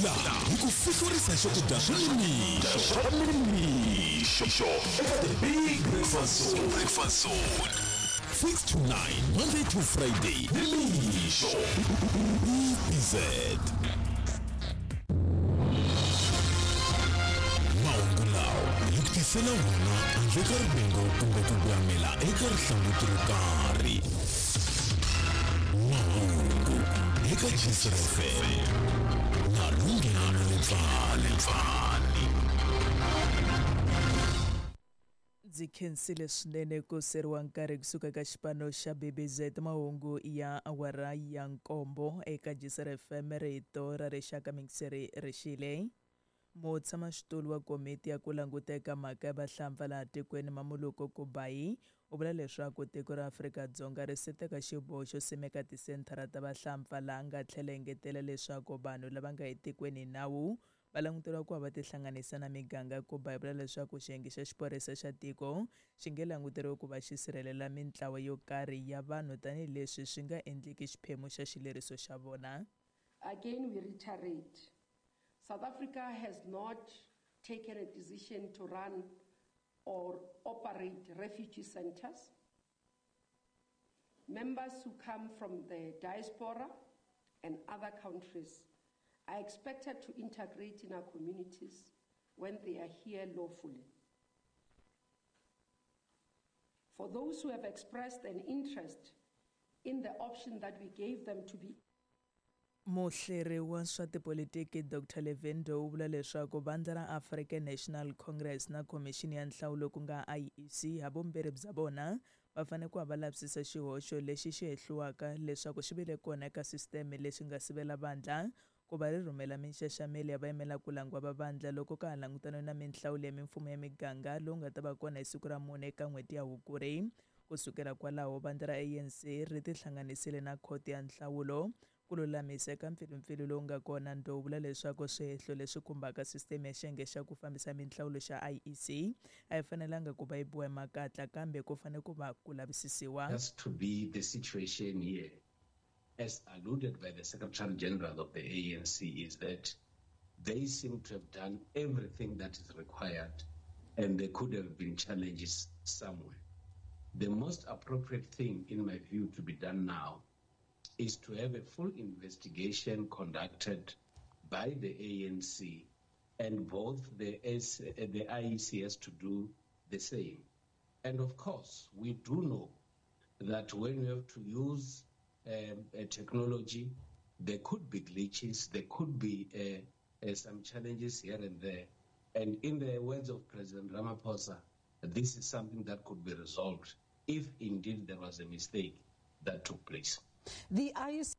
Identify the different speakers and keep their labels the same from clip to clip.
Speaker 1: Laha hi ku fihlurisa swakudya swa nimixo swa nimixo eka The Big Breakfast Zone. Breakfast Zone. 6 to 9, Monday to Friday, nimixo. BZ. Mahungu lawa hi ku tisela wona handle ka rivengo kumbe ku gwamela eka rihlanguti ro karhi. Mahungu eka Jisr FM na Lunghelo Letsane.
Speaker 2: Ndzi khensile swinene ku seriwa nkarhi kusuka ka xipano xa BBZ mahungu ya awara ya nkombo eka Jisr FM rito ra rixaka mingiseri rixile. Mutshamaxitulu wa komiti ya ku languta eka mhaka ya vahlampfa laha tikweni Mamoloko Kubayi u vula leswaku tiko ra Afrika-Dzonga ri se teka xiboho xo simeka tisenthara ta vahlampfa laha nga tlhela engetela leswaku vanhu lava nga etikweni hi nawu va languteriwa ku va va tihlanganisa na miganga. Kubayi vula leswaku xiyenge xa xiphorisa xa tiko xi nge languteriwi ku va xi sirhelela mintlawa yo karhi ya vanhu tanihileswi swi nga endliki xiphemu xa xileriso xa vona.
Speaker 3: Again, we reiterate, South Africa has not taken a decision to run or operate refugee centers. Members who come from the diaspora and other countries are expected to integrate in our communities when they are here lawfully. For those who have expressed an interest in the option that we gave them to be
Speaker 2: Muhleri wa swa tipolitiki Dr Levin Ndou u vula leswaku vandla ra African National Congress na Khomixini ya Nhlawulo ku nga IEC havumbirhi bya vona va fanele ku va va lavisisa xihoxo lexi xi hehliwaka leswaku xi vile kona eka sisiteme lexi nga sivela vandla ku va ri rhumela minxaxamelo ya vayimela ku langiwa va vandla loko ka ha langutaniwe na minhlawulo ya mimfumo ya miganga lowu nga ta va kona hi siku ra mune eka n'hweti ya Hukuri. Ku sukela kwalaho vandla ra ANC ri tihlanganisile na khoto ya nhlawulo ku lulamisa eka mpfilumpfilu lowu nga kona. Ndou vula leswaku swihehlo leswi khumbaka sisiteme ya xiyenge xa ku fambisa minhlawulo xa IEC a yi fanelanga ku va yi biwa hi makatla kambe ku fanele ku va ku lavisisiwa.
Speaker 4: Has to be the situation here, as alluded by the Secretary General of the ANC, is that they seem to have done everything that is required and there could have been challenges somewhere. The most appropriate thing, in my view, to be done now is to have a full investigation conducted by the ANC, and both the IEC has to do the same. And of course, we do know that when you have to use a technology, there could be glitches, there could be some challenges here and there. And in the words of President Ramaphosa, this is something that could be resolved if indeed there was a mistake that took place.
Speaker 5: The IEC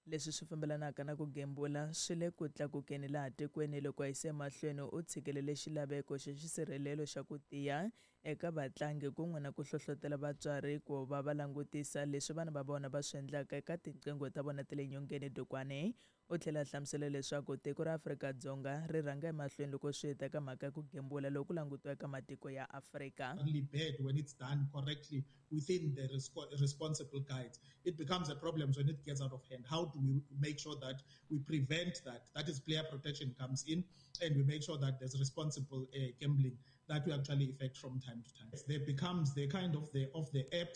Speaker 2: leswi swi fambelanaka na ku gembula swi le ku tlakukeni laha tikweni loko a yise emahlweni u tshikelele xilaveko xa xisirhelelo xa ku tiya eka vatlangi kun'we na ku hlohlotela vatswari ku va va langutisa leswi vana va vona va swi endlaka eka tinqingho ta vona ta le nyongeni. Dukwane u tlhela a hlamusela leswaku tiko ra Afrika-Dzonga ri rhanga emahlweni loko swi ta ka mhaka ya ku gembula loko ku langutiwa eka matiko ya Afrika.
Speaker 6: Only bad when it's done correctly within the responsible guides. It becomes a problem when it gets out of hand. How do we make sure that we prevent that? That is, player protection comes in, and we make sure that there's responsible gambling that we actually effect from time to time. There becomes the kind of the apps